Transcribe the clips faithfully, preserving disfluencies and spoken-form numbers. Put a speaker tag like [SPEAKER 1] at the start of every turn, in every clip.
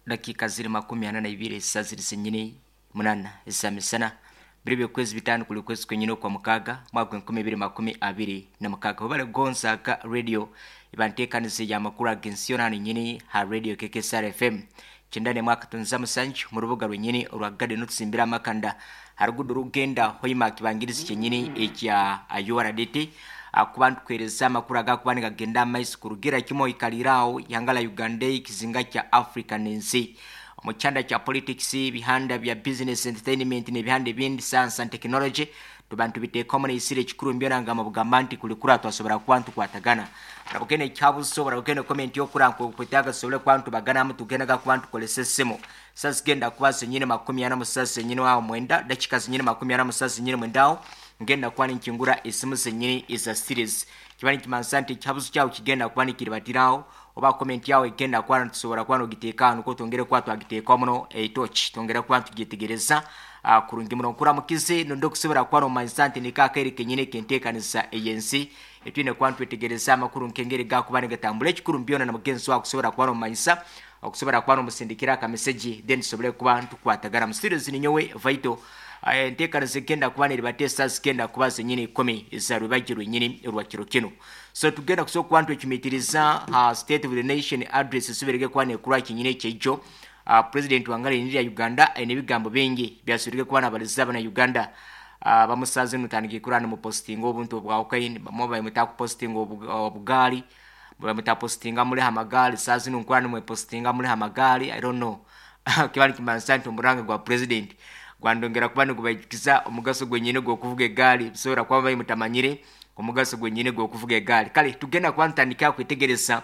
[SPEAKER 1] Dakika ziri makumi ana na ibiri esa ziri zenyini munana eza misana, biri byokwezi bitano kuli kwezi kwenyini okwa mukaga, mwaka enkumi ibiri makumi abiri na mukaga. Webale Gonzaga Radio, ibanteekanize ya makuru ag'ensi yona hano nyini ha radio K K S R F M kyenda mwaka tunza musanju, mu rubuga rwenyini orwa Garden, otusimbira amakanda harugudo rugenda Hoima, kibangirizi kyenyini ekya U R D T, kuba ntukwereza amakuru agakuba nigagenda amaiso kurugira kimwe ikaliraho ihanga la Uganda, ekizinga kya Africa n'ensi, mu kyanda kya politics, ebihanda bya business, entertainment n'ebihanda ebindi, science and technology. Tuba ntubiteekamu neisire ekikuru mbyona nga mubugamba nti kulikura twasobora kuba ntukwatagana. Orabugenda ekyabuzo, orabugenda comment yokuranka okwetaaga, tusobole kuba ntubaganamu, tugendaga kuba ntukolesa essimu. Saa zigenda kuba zenyini makumi ana musasa zenyini awo mwenda, dakika zenyini makumi ana musasa zenyini mwenda awo ngenda kuba ninkingura esimu zenyini eza series. Kiba nikimanisa nti ekihabuzo kyawe kigenda kuba nikiribatiraho, oba comment yawe egenda kuba tusobola kuba nogiteeka nuko twongere kuba twagiteeka muno etoki, twongere kuba tugyetegereza uh, kurungi muno. Nkuramukize nondi okusobola kuba nomanyisa nti nikaakaire kenyini ekenteekanisa eyensi etwine kuba ntwetegereza amakuru nkengeri gakuba nigatambula. Ekikuru mbyona na mugenzi wawe okusobola kuba nomanyisa, okusobola kuba nomusindikira akameseji, then tusobole kuba ntukwatagana. Mu studio zininyowe Vaito. Enteekaniza egenda kuba neribateesa zigenda kuba zenyini ikumi za rwebagyo rwenyini rwa kiro kino. So tugenda kusobola kuba ntwecumitiriza uh, State of the Nation Address esoberege kuba nekurwa kinyini ekyejo. uh, president wangala lya Uganda aine ebigambo bingi byasobwerege kuba nabaliza abana Uganda. uh, bamusaze nutandike kurana mu postinga obuntu obwawukaine, bamwe bamuta kupostinga obugaali, bamuta postinga muliho amagaali. Saa zino nkurana mwepostinga muliho amagaali. I don't know, kiba nikimanisa nti omuranga gwa president gwandongera kuba nigubaijukiza omugaso gwenyine gw'okuvuga egaali. Bisobola kuba bayi mutamanyire omugaso gwenyine gw'okuvuga egaali. Kale tugenda kuba ntandika kwetegereza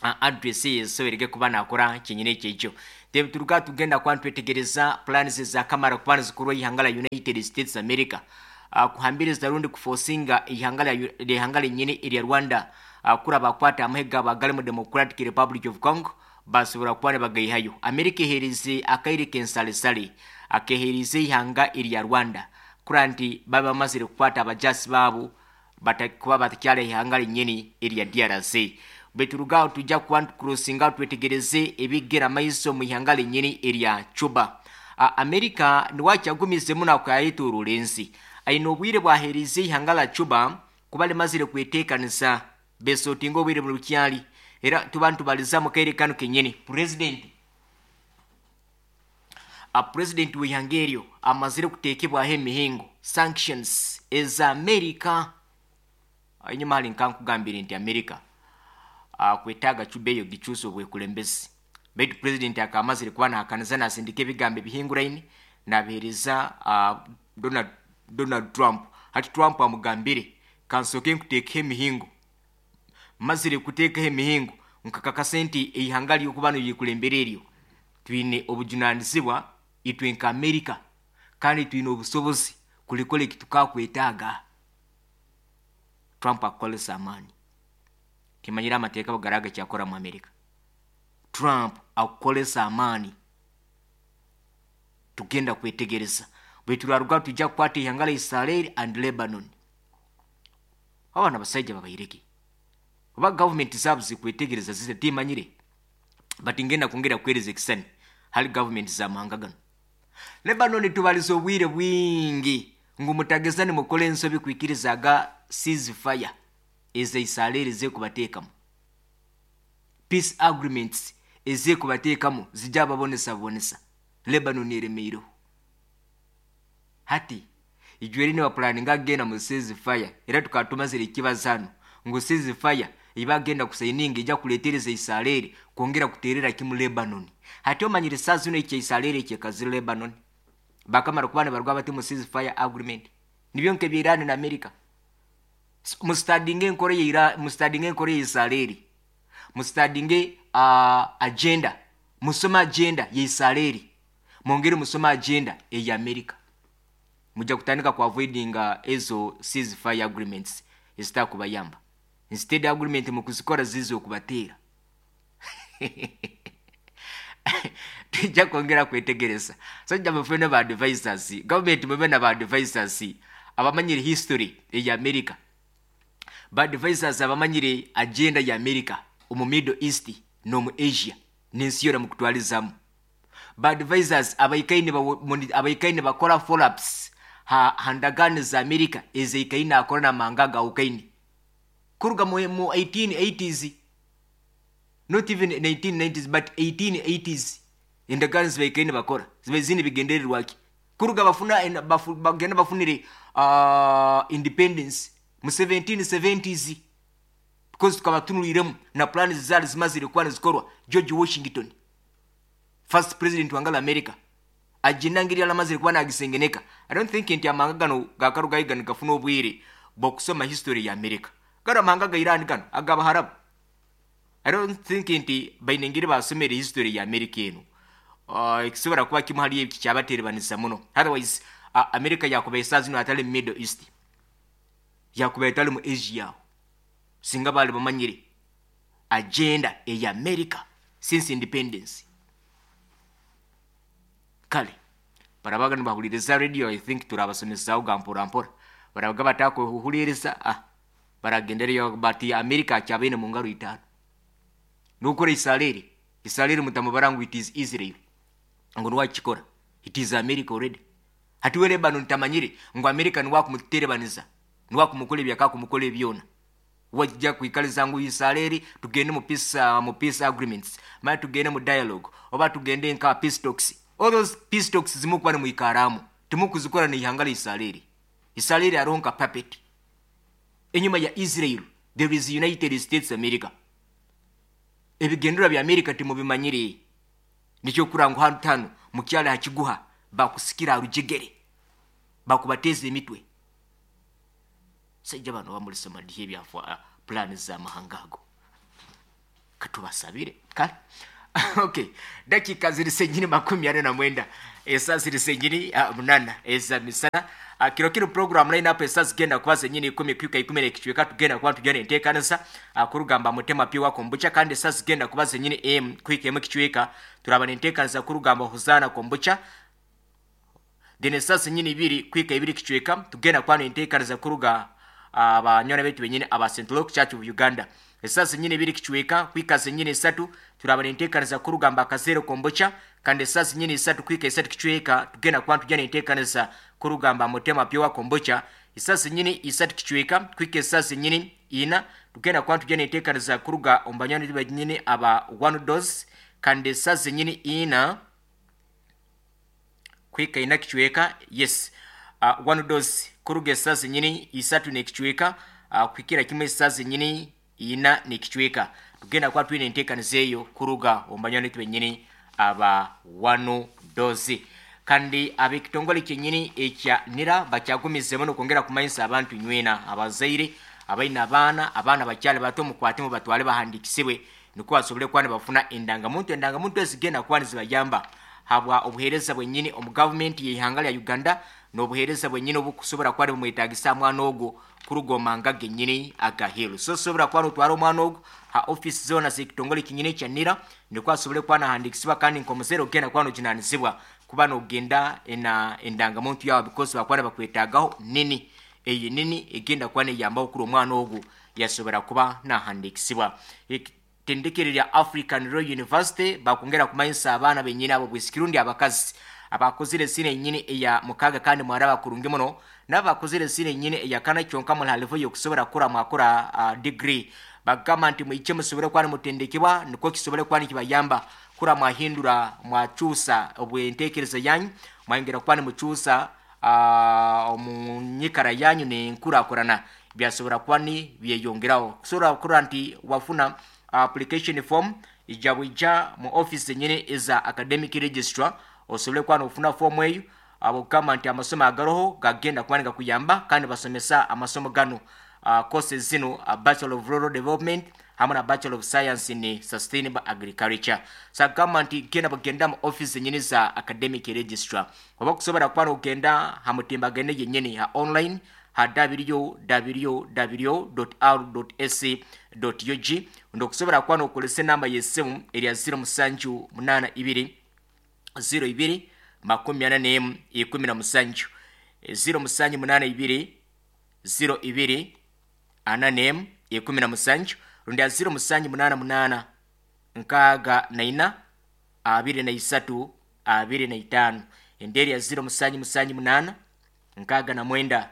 [SPEAKER 1] uh, address esoberege kuba nakora kyenyine ekyekyo. Then turuka tugenda kuba ntwetegereza plans zakamara kuba nizikorwa ihanga la United States America, uh, kuhambiriza rundi kuforcinga ihanga lya ihanga lenyine erya Rwanda, uh, kura bakwata amahega bagali mu Democratic Republic of Congo, basobora kuba nibagaihayo. Amerika eherize akaire kensalesale akeherize ihanga erya Rwanda kura nti baba bamazire kukwata abajasi baabo kuba batakyala ihanga lenyini erya D R C. Beturugaho tujja kuba ntukurosinga twetegereze ebigera maiso mu ihanga lenyini erya Cuba. Amerika niwakyagumizemu nakwayetoorora ensi, aine obwire bwaherize ihanga la Cuba kuba limazire kweteekanisa besotinga obwire mu lukyali. Era tuba ntubaliza mu kaire kano kenyini, president a president w'ihanga eryo amazire kuteekebwaho emihingo, sanctions eza Amerika. Enyuma hali nkankugambire nti Amerika uh, kwetaaga Cuba eyo gikyusa obwekulembezi, baitu president akamazire kuba nahakaniza, nasindika ebigambo ebihinguraine nabihereza uh, Donald, Donald Trump. Hati Trump amugambire, "Kansooke nkuteekaho emihingo, mazire kuteekaho emihingo nkakakasa nti eihanga lyokuba niryekulembera eryo twine obujunanizibwa itwe nka Amerika, kandi twine obusobozi kulikora eki tukakwetaaga." Trump akukolesa amaani. Kimanyire amateeka bugaraga kyakora mu Amerika. Trump akukolesa amaani, tugenda kwetegereza. Bwe turaruga tujja kukwata ihanga la Israel and Lebanon. Abaana basaija babaireke oba gavumenti zaabo zikwetegereza zize timanyire, but ngenda kwongera kuhereza ekisani hali gavumenti z'amahanga gano. Lebanon tubaliza obwire bwingi ngu mutageza nimukora ensobi kwikirizaga ceasefire eza Israel zekubateekamu, peace agreements ezekubateekamu zijja babonesabonesa. Lebanon eremeireho hati ijweri nibapulaninga agenda mu ceasefire. Era tukaba tumazire ekibazo hano ngu ceasefire ibagenda kusayininga ijja kuletereza Israel kwongera kuterera kimu Lebanon. Hati omanyire saa zino ekya Israel ekyekazire Lebanon, bakamara kuba nibarwa bati mu ceasefire agreement nibyo nkebya Iran na America. Mustadinge enkora ya Iran, mustadinge enkora ya Israel, mustadinge uh, agenda, musome agenda ya Israel, mwongere musome agenda eya America, mujja kutandika ku avoidinga ezo ceasefire agreements ezitakubayamba. Instead agreement mukuzikora ziza okubateera. Tujja kwongera kwetegereza. Sajja mufune ba advisors, government mube na ba advisors abamanyire history eya America, ba advisors abamanyire agenda ya America omu Middle East n'omu Asia n'ensi yona mukutwalizamu. Ba advisors abaikaine abaikaine bakora follow-ups ha handagano za America ezeikaine akora n'amahanga gawukaine kuruga mu, mu eighteen eighties, not even nineteen nineties but eighteen eighties. Endagaano zibaikaine bakora ziba zine bigendererwaki kuruga bafuna bafu, bagenda bafunire uh, independence mu seventeen seventies, because tukaba tunuliremu na plans zali zimazire kuba nizikorwa George Washington, first president wangala America, agenda ngeri alamazire kuba nagisengeneka. I don't think nti amahanga gano gakarugayo gano gafuna obwire bw'okusoma history ya America. Gano amahanga ga Iran, gano ag'Abaharabu, I don't think nti baine ngeri basomere history ya America eno. uh, ekisobora kuba kimu hali ebyo kyabaterebanisa muno. Otherwise uh, America yakuba esaaha zino atali mu Middle East, yakuba etali mu Asia, singa bali bamanyire agenda eya America since independence. Kale barabaga nibahuliriza radio, I think turabasomesaho ga mpora mpora. Barabaga batakuhuliriza, ah, baragendereyo bati America akyabaine mu ngaro itaano nukora Israeli. Israeli mutamubara ngu it is Israel ngu niwakikora, it is America already. Hati we Lebanon tamanyire ngu America niwakumuterebaniza, niwakumukora ebyakakumukora ebyona. Wajja kwikaliza ngu Israeli tugende mu peace, uh, mu peace agreements, mara tugende mu dialogue oba tugende nka peace talks. All those peace talks zimukuba nimwikaramu timukuzikora n'ihanga lya Israeli. Israeli aronka puppet. Enyuma ya Israel there is United States America. Ebigendera bya America timubimanyire. Nikyo kura ngu hanu tano mukyala hakiguha bakusikira arujegere bakubateza emitwe. Sajja bano bamulisoma dihe ebyafa plan za mahanga ago, katubasabire. Kale okay, dakika ziri senyini makumi ane na mwenda, esa ziri senyini uh, munana eza misana. uh, kiro kino program line up esa zigenda kuba zenyini ikumi kwika ikumi n'ekicweka, tugenda kuba tugenda enteekanisa uh, kurugamba mutema piwa kombucha. Kandi esa zigenda kuba zenyini m kwika emu ekicweka, turaba nenteekanisa kurugamba huzana kombucha. Then esa zenyini ibiri kwika ibiri ekicweka, tugenda kuba nenteekanisa kuruga abanywana betu benyini aba Saint Luke Church of Uganda. Esa zenyini ibiri kicweka kwika zenyini esatu, turaba nenteekanisa kurugamba akazero kombucha. Kandi esa zenyini esatu kwika esatu kicweka, tugenda kuba tujya nenteekanisa kurugamba mutema piwa kombucha. Esa zenyini isatu kicweka kwika esa zenyini ina, tugenda kuba tujya nenteekanisa kuruga omu banywani benyini aba One Dose. Kandi esa zenyini ina kwika ina kicweka, yes, uh, One Dose kuruga esa zenyini isatu n'ekicweka uh, kwikira kimwe esa zenyini ina n'ekicweka, tugenda kuba twine enteekaniza eyo kuruga omu banywani benyini aba One Dose. Kandi ab'ekitongole kyenyini ekya NIRA bakyagumizemu n'okwongera kumanyisa abantu nywena abazaire abaine abaana, abaana bakyali bato, mukwatemu batwale bahandikisibwe nikwo basobole kuba nibafuna endangamuntu. Endangamuntu ezigenda kuba nizibayamba habwa obuheereza bwenyini omu gavumenti y'eihanga lya Uganda, n'obuheereza bwenyini obukusobora kuba nibumwetagisa mwana ogwo kuruga omu mahanga genyini agaheeru. So sosobora kuba notwara omwana ogwo ha office zoona z'ekitongole kinyini ekya NIRA nikwo asobole kuba nahandikisibwa. Kandi nk'omuzaire ogenda kuba nojunanizibwa kuba nogenda ena endangamuntu yawe, because bakuba nibakwetagaho nini eyo nini egenda kuba neyambaho kuri omwana ogwo yasobora kuba nahandikisibwa. Etendekero lya African Royal University bakwongera kumanyisa abaana benyini abo bwisikirundi abakazi abakozire sine enyini eya mukaga kandi mwaraba kurungi muno, n'abakozire sine enyini eya kana kyonka muri halivo yokusobora kukora mwakora uh, degree, bagamba nti mwije musobole kuba nimutendekebwa nikwo kisobole kuba nikibayamba kura mwahindura mwakyusa obwenteekereza yanyu, mwayongera kuba nimukyusa uh, omu nyikara yanyu nenkurakurana byasobora kuba ni byeyongeraho. Kusobora kukora nti wafuna application form ija bwija mu office zenyini eza academic registrar osobole kuba nofuna form eyo. Abokugamba nti amasomo agaroho gagenda kuba nigakuyamba, kandi basomesa amasomo gano uh, courses zino, uh, Bachelor of Rural Development hamwe na Bachelor of Science in Sustainable Agriculture. Sagamba nti genda bagenda mu office zenyini za academic registrar, oba kusobora kuba nogenda ha mutimbagano yenyini ha online ha w w w dot r dot a c dot u g, ndokusobora kuba nokozesa enamba y'essimu erya zero musanju munaana ibiri zero ibiri makumi ana n'emu ikumi na musanju, zero musanju munaana ibiri zero ibiri ana n'emu ikumi na musanju, rundi ya zero musanju munaana munaana nkaaga na ina abiri na isatu abiri na itaano. Enderi ya ziro musanju musanju munaana nkaaga na mwenda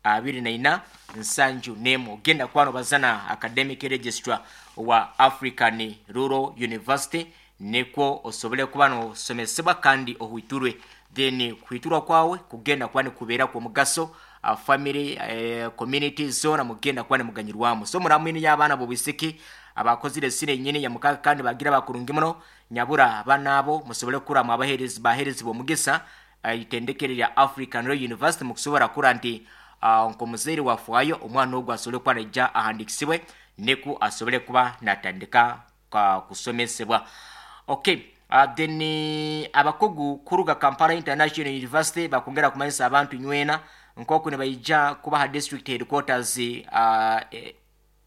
[SPEAKER 1] abiri na ina nsanju nemu. Ogenda kwano bazana academic registrar wa African Rural University nikwo osobole kuba nosomesebwa kandi ohwiturwe. Then kuhwiturwa kwawe kugenda kuba nikubeera kw'omugaso uh, family eh, community zona mugenda kuba nimuganyirwamu. So muramwini y'abaana b'obwisiki abakozire sine nyini ya mukaga kandi bagira bakurungi muno nyabura abaana abo musobole kukuramu abaherezi baherezi b'omugisa uh, itendekere lya African Rural University mukusobora kura nti uh, nk'omuzaire wafwayo omwana ogwo asobole kuba naija ahandikisibwe niku asobole kuba natandika ka kusomesebwa. Okay, uh, then abakugu kuruga Kampala International University bakongera kumanyisa abantu nywena nkoku nibaija kubaha district headquarters uh, e,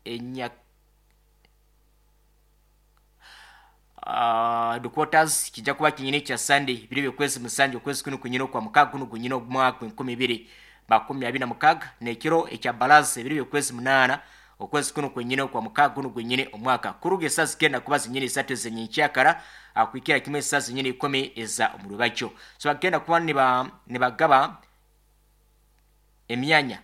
[SPEAKER 1] enya uh, headquarters kijja kuba kinyine kya Sunday biri by'okwezi musanju okwezi kuno kunyine kwa mukaga kuno kunyine omwaka enkumi ibiri makumi abiri na mukaga n'ekiro ekya balaza ebiri by'okwezi munaana okwezi kuno kwenyine kwa mukaga kuno kwenyine omwaka kuruga esaa zigenda kuba zinyine isatu ezenyenkyakara akwikira kimwe esaa zinyine ikumi eza omurubakyo. So bagenda kuba niba nibagaba emyanya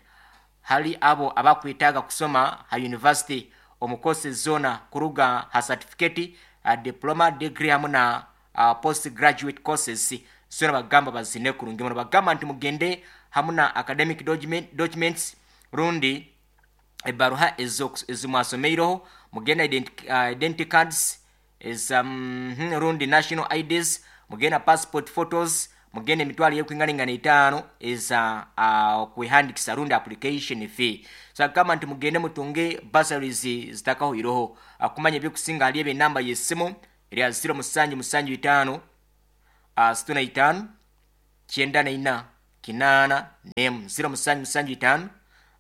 [SPEAKER 1] hali abo abakwetaaga kusoma ha university omu courses zona kuruga ha certificate, uh, diploma, degree hamu na uh, post graduate courses zona bagamba bazine kurungi muno. Bagamba nti mugende hamu na academic document, documents rundi ebaruha ezimwasomeireho, mugende identi, uh, identity cards eza mm, rundi national I Ds, mugende passport photos, mugende emitwalo y'okwinganingana etaano eza uh, kwehandikisa rundi application fee. So agamba nti mugende mutunge bursaries zitakahoiroho. Akumanya ebyokusinga hali ebe enamba y'essimu erya ziro musanju musanju itaano uh, situ na itaano kyenda na ina kinaana nemu ziro musanju musanju itaano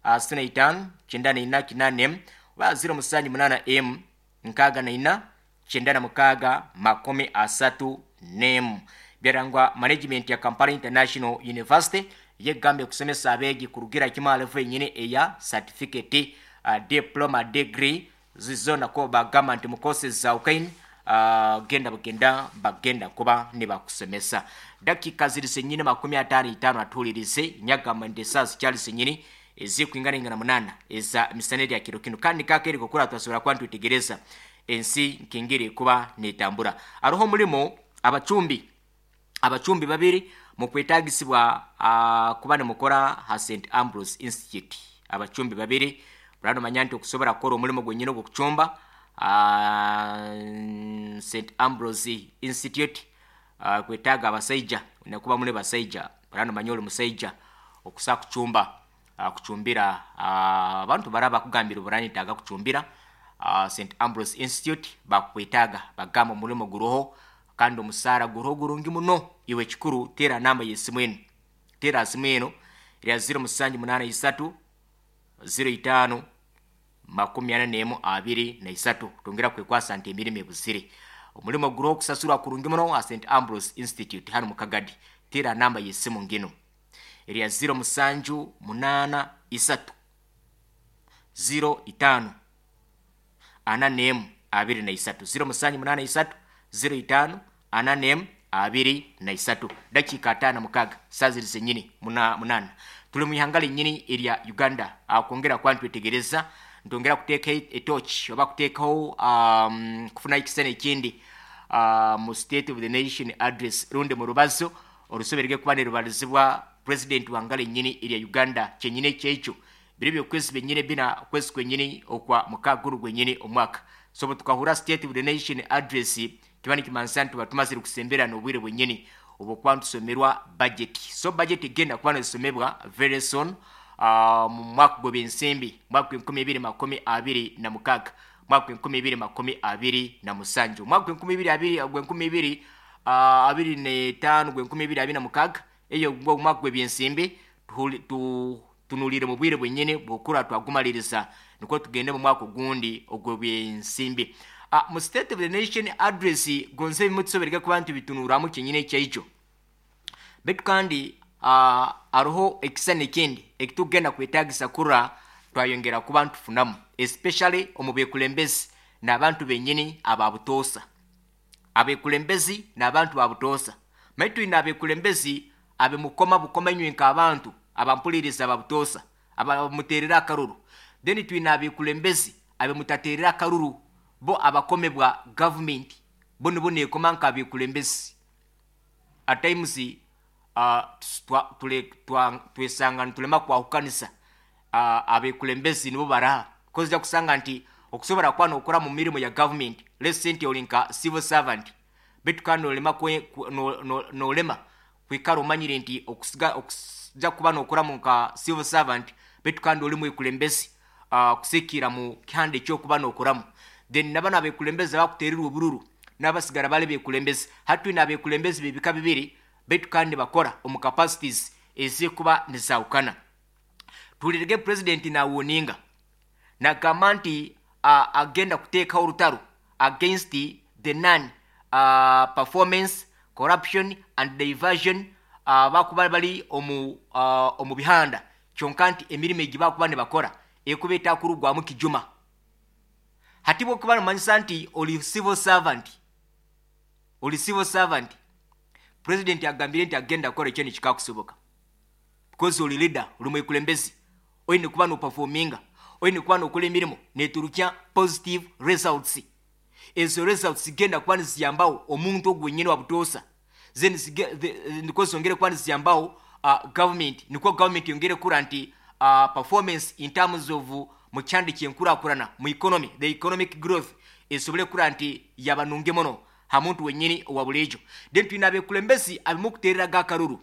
[SPEAKER 1] uh, situ na itaano kyenda na ina kinaana nemu oba ziro musanju munaana emu nkaaga na ina kyenda na mukaaga makumi asatu nemu. Byarangwa management ya Kampala International University yegambye kusomesa abeegi kurugira kimu level enyine eya certificate, uh, diploma, degree zizona ko bagamba nti mu courses za ukaini uh, genda bagenda bagenda kuba nibakusomesa. Dakika ziri zenyine makumi ataano itaano atuulirize nyagamba nti esaa zikyali zenyine ezikwinganingana munaana eza misana erya kiro kino kandi kakeeri kukura twasobora kuba nitwetegereza ensi nkengeri kuba netambura. Aroho omulimo abacumbi abacumbi babiri mukwetagisibwa uh, kuba nimukora ha Saint Ambrose Institute. Abacumbi babiri burano manya nti okusobora kukora omulimo gwenyine ogw'okucumba uh, Saint Ambrose Institute uh, kwetaaga abasaija nakuba mune basaija burano manya oli musaija okusa kucumba uh, kucumbira abantu uh, baraba kugambira burani taga kucumbira uh, Saint Ambrose Institute bakwetaaga bagamba omulimo guroho kandi omusaara guroho gurungi muno. Iwe kikuru tera namba y'essimu eno, tera simu eno erya ziro musanju munaana isatu ziro itaano makumi ana n'emu abiri na isatu. Tongera kwekwasa nti emirimu ebuzire. Omulimo guroho okusasurwa kurungi muno ha Saint Ambrose Institute hano mu Kagadi. Tera namba y'essimu ngino erya ziro musanju munaana isatu ziro itaano ana n'emu abiri na isatu ziro musanju munaana isatu ziro itaano ana n'emu abiri na isatu. Dakika ataano mukaga saa ziri zenyini muna, munana. Tuli mu ihanga linyini erya Uganda akwongera kuba nitwetegereza ntongera kuteeka etochi oba kuteekaho um, kufuna ekisana ekindi uh, mu State of the Nation address rundi mu rubazo orusoberege kuba nirubalizibwa president wanga linyini erya Uganda kyenyini ekyekyo biri byokwezi byenyini bina kwezi kwenyini okwa mukaaga gwenyini omwaka. So bwe tukahura State of the Nation address kiba nikimanisa nti batumazire kusembera n'obwire bwenyini obwokuba nitusomerwa budget. So budget egenda kuba nesomebwa very soon uh, mu mwaka gw'ebyensimbi mwaka gw'enkumi ibiri makumi abiri na mukaaga mwaka gw'enkumi ibiri makumi abiri na musanju mwaka gw'enkumi ibiri abiri gw'enkumi ibiri uh, abiri n'etaano gw'enkumi ibiri abiri na mukaaga eyo omwaka gw'ebyensimbi tu tunulire mu bwire bwenyini bwokura twagumaliriza nikwo tugende mu mwaka ogundi ogw'ebyensimbi. Uh, mu State of the Nation address gonze bimwe kuba nti bitunuramu kyenyine ekyaijo betu kandi uh, aroho ekisana ekindi ekitugenda kwetagisa kura twayongera kuba ntufunamu especially omu bekulembezi n'abantu benyini ababutoosa abekulembezi n'abantu babutoosa. Maitu twine abekulembezi abemukoma bukoma inywe nk'abantu abampuliriza babutoosa abamuteerera akaruru. Then twine abekulembezi abemutateerera akaruru, bo abakomebwa gavumenti, bo nibo neekoma nk'abekulembezi. At times uh, twa, tule, twa, twesanga nitulema kwahukanisa uh, abekulembezi nibo baraha, because kusanga nti okusobola kuba nokora mu mirimu ya government, let's say nti oli nka civil servant, baitu kandi nolema kwe, no, no, nolema kwikara omanyire nti okusiga okuja kuba nokoramu nka civil servant, baitu kandi oli mwekulembezi uh, kusikira mu kihanda ekyokuba nokoramu. Then nabano abekulembezi abakuteerirwa obururu n'abasigara bali bekulembezi. Hati twine abekulembezi b'ebika bibiri, baitu kandi bakora omu capacities ezikuba nizawukana. Tulirege president nawoninga nagamba nti uh, agenda kuteekaho orutaro against the non uh, performance, corruption and diversion uh, bakuba bali omu, uh, omu bihanda, kyonka nti emirimu egi bakuba nibakora ekuba etakurugwamu kijuma. Hati bwokuba nomanyisa nti oli civil servant, oli civil servant, president agambire nti agenda kukora ekyo nikikakusoboka, because oli leader, oli mwekulembezi, oine kuba noperforminga, oine kuba nokola emirimu neturukya positive results. Ezo results zigenda kuba niziyambaho omuntu ogwo wenyini wabutoosa, then nikwo zongere kuba niziyambaho uh, government, nikwo government yongere kura nti uh, performance in terms of mu kyandi kyenkurakurana mu economy, the economic growth esobole kura nti yabanunge muno ha muntu wenyini owa bulijo. Then twine abekulembezi abimukuteereraga akaruru,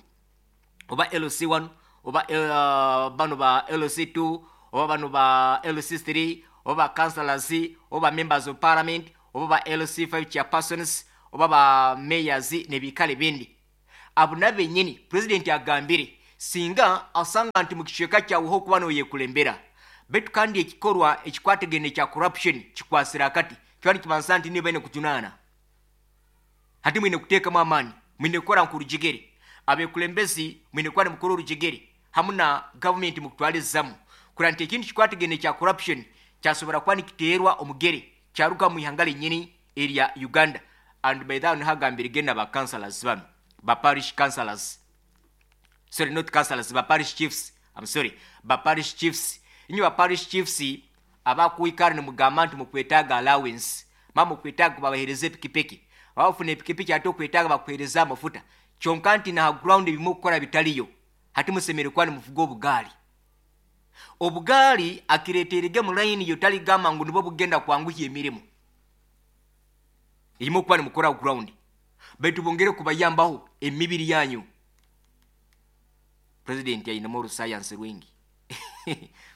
[SPEAKER 1] oba L C one, oba uh, bano ba L C two, oba bano ba L C three, oba ba councillors, oba members of parliament, oba ba L C five chairpersons, oba ba mayors nebikale bindi. Abo nabo benyini president agambire singa asanga nti mu kicweka kyaweho okuba noyekulembera, baitu kandi ekikorwa ekikwatagene kya corruption kikwasira akati, kiba nikibanza nti niba ine kujunaana. Hati mwine kuteekamu amaani, mwine kukora nkurujegere, abekulembezi mwine kuba nimukora orujegere hamu na gavumenti mukutwalizamu kura nti ekintu kikwatagene kya corruption kyasobora kuba nikiteerwa omugere kyaruga mu ihanga lenyini erya Uganda. And by that nihagambire genda ba councillors bano, ba parish councillors, sorry, not councillors, ba parish chiefs, I'm sorry, ba parish chiefs. Inywe ba parish chiefs abakuikara nimugamba nti mukwetaaga allowance, ma mukwetaaga babahereza epikipiki, bafuna epikipiki ate okwetaaga bakuhereza amafuta, kyonka nti na ground ebimu okukora bitaliyo. Hati musemere kuba nimuvuga obugaali. Obugaali akireeterege mu layini yo, taligamba ngu nibwo bugenda kwanguhya emirimu erimu okuba nimukora ground, baitu bongere kubayambaho emibiri yanyu. President ayinemu orusayansi rwingi,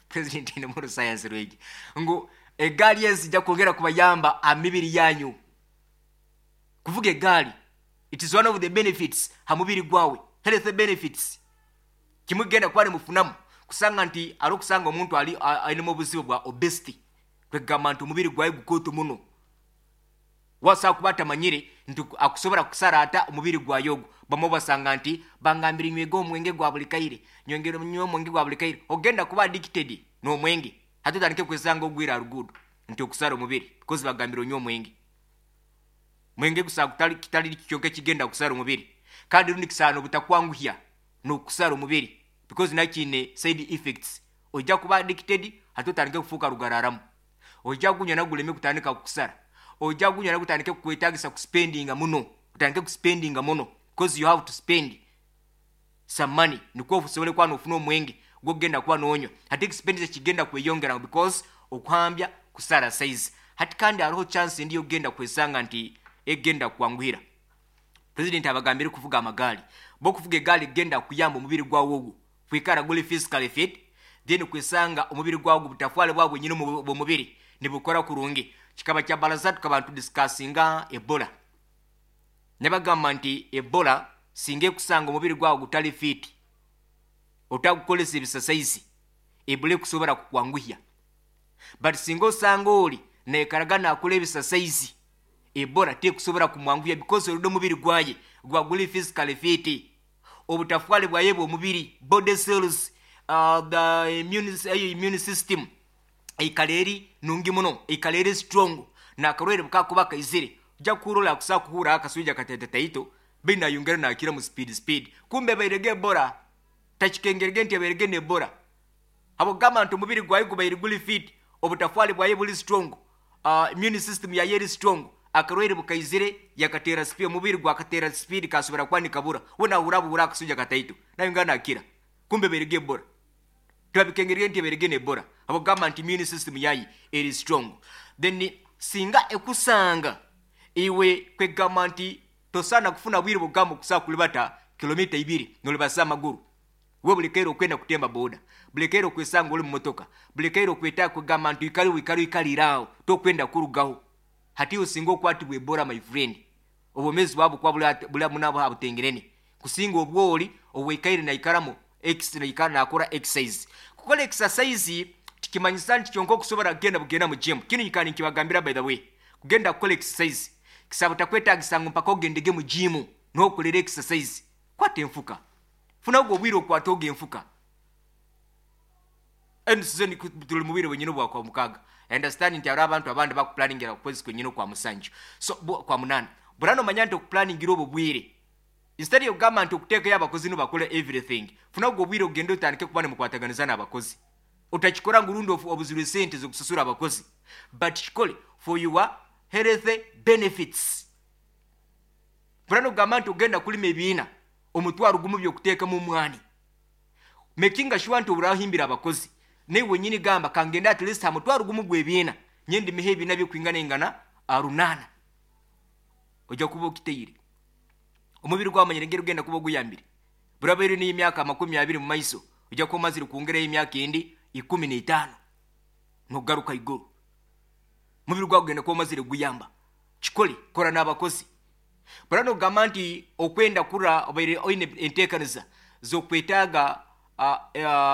[SPEAKER 1] president ayinemu orusayansi rwingi ngu egaali ezijja kwongera kubayamba amibiri yanyu. Kuvuga egaali, it is one of the benefits ha mubiri gwawe, health benefits. Kimugenda kuba nimufunamu kusanga nti ari okusanga omuntu ali ainemu obuzibu bwa obesity, kwegamba nti omubiri gwawe gukooto muno, wasobola kuba atamanyire nti akusobola kusara ata omubiri gwayo ogwo. Bamwe basanga nti bangambire nywege omwenge gwa buli kaire, nyongere nywe omwenge gwa buli kaire, ogenda kuba addicted n'omwenge. Hati otandike kwesanga ogwira rugudo nti okusara omubiri because bagambire onywe omwenge. Mwenge gusa kutali kitali kyonka ekigenda kusara omubiri, kandi rundi kisaana obutakwanguhya n'okusara omubiri, because nakiine side effects. Ojja kuba addicted, hati otandike kufuuka rugararamu, ojja gunywa naguleme kutandika kukusara, ojja gunywa nagutandike kukwetagisa kuspendinga muno, otandike kuspendinga muno because you have to spend some money nikwo osobole kuba nofuna omwenge gwogenda kuba nonywa. Hati expenditure kigenda kweyongera because okuhambya kusara size. Hati kandi hariho chance endi yogenda kwesanga nti egenda kwanguhira. President abagambire kuvuga amagaali, bo kuvuga egaali genda kuyamba omubiri gwawe ogwo kwikara guli physically fit, then kwesanga omubiri gwawe butafwale bwabwe nyine bwomubiri nibukora kurungi. Kikaba kya baraza tukaba tudiscussinga Ebola, nebagamba nti Ebola singa ekusanga omubiri gwawe gutali fit, otagukolesa ebisasaizi, Ebola ekusobora kukwanguhya. But singa osanga oli naikaraga nakora ebisasaizi, Ebola tekusobora kumwanguhya because oludde omubiri gwaye gwa guli physically fit, obutafwale bwaye bwomubiri, body cells, uh, the immune, eyo immune system eikara eri nungi muno, eikara eri strong. Nakarwaire bukakuba kaizire ojja kuhuura akusa kuhuura akaswija katetetaito. Baitu nayongera nakira mu speed speed, kumbe ebairege Ebola. Takikengerege nti ebairege n'Ebola, habwokugamba nti omubiri gwaye gubaire guli fit, obutafwali bwaye buli strong, uh, immune system yaye eri strong. Akarwaire bukaizire yakatera speed, omubiri gwakatera speed, kasobora kuba nikabura. We nahura buhura akasuja kataito, nayongera nakira, kumbe ebairege Ebola. Twabikengerege nti ebairege n'Ebola, habwokugamba nti immune system yaye eri strong. Then singa ekusanga iwe, kwegamba nti tosaana kufuna bwire bugamba okusobola kulibata kilomita ibiri nolibasa amaguru. We buli kaire okwenda kutemba boda, buli kaire okwesanga oli mumotoka, buli kaire okwetaaga kwegamba nti oikale wikale oikalire tokwenda kurugaho. Hati osinga okwatibwa Ebola, my friend, obwomezi bwabwo kuba buli munabo abutengerene kusinga obwoli obwaikaire naikaramu naikara nakora exercise. Kukora exercise tikimanyisa nti kyonka okusobora kugenda bugenda mu gym. Kinu nyikara nkibagambira, by the way, kugenda kukola exercise kisaba takwetagisa ngu mpaka ogendege mu gym nokolera exercise. Kwata enfuka, funa ogwo obwire okwata ogo enfuka. Sizoni tuli mu bwire bwenyini bwa mukaaga. Understand nti hariho abantu abandi bakuplaningira kwezi kwenyini kwa musanju, so kwa munana. Burano omanya nti okuplaningira obwo bwire, instead yokugamba nti okuteekayo abakozi nibakora everything, funa ogwo obwire ogende otandike kuba nimukwataganiza n'abakozi. Otakikora ngu rundi obuzirwe sente zokusasura abakozi, but kikole for your health benefits. Burano ogamba nti ogenda kulima ebiina omutwaro gumu byokuteekamu omwani, making sure nti oburahimbira abakozi, naye wenyini gamba kangende at least hamutwaro gumu gwebiina nyendimeho ebiina byokwingana ingana arunaana, ojja kuba okiteire omubiri gwamanyire ngeri ogenda kuba oguyambire. Burabaire n'emyaka amakumi abiri mu maiso, ojja kuba omazire kwongerayo emyaka endi ikumi n'etaano nogaruka iguru. Omubiri gwawe gugenda kuba omazire guyamba. Kikole, kora n'abakozi. Burano ogamba nti okwenda kura obaire oine enteekaniza z'okwetaaga uh, uh,